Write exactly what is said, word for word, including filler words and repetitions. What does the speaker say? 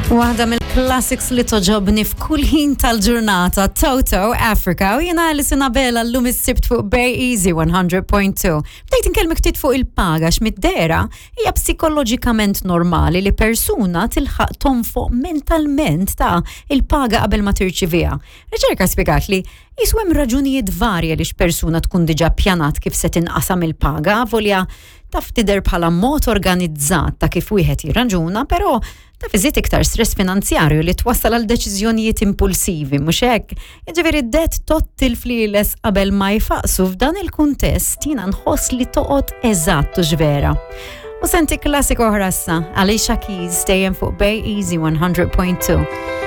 Waħda mill-classics li togħġobni f'kull ħin tal-ġurnata, Toto Africa, u jiena Alison Abela llum is-Sibt fuq Bay Easy one hundred point two. Bdejt inkellmek ftit fuq il-paga x'mid-dehra hija psikoloġikament normali li persuna tilħaq tonfoq mentalment ta' il-paga qabel ma tirċiviha. Riċerka spjegat li jisu hemm raġunijiet varji li persuna tkun diġà pjanat kif se tinqasam il-paga, volja taf tidher bħala mod organizzat ta' kif wieħed jirraġuna, però taf iżid iktar stress finanzjarju li twassal għal deċiżjonijiet impulsivi, mhux hekk? Jiġifieri det tott il-flieles qabel ma jfaqsu f'dan il-kuntest jiena nħoss li toqgħod eżatt u vera. U senti klassik oħra issa, Alicia Keys, dejjem fuq Bay Easy one hundred point two.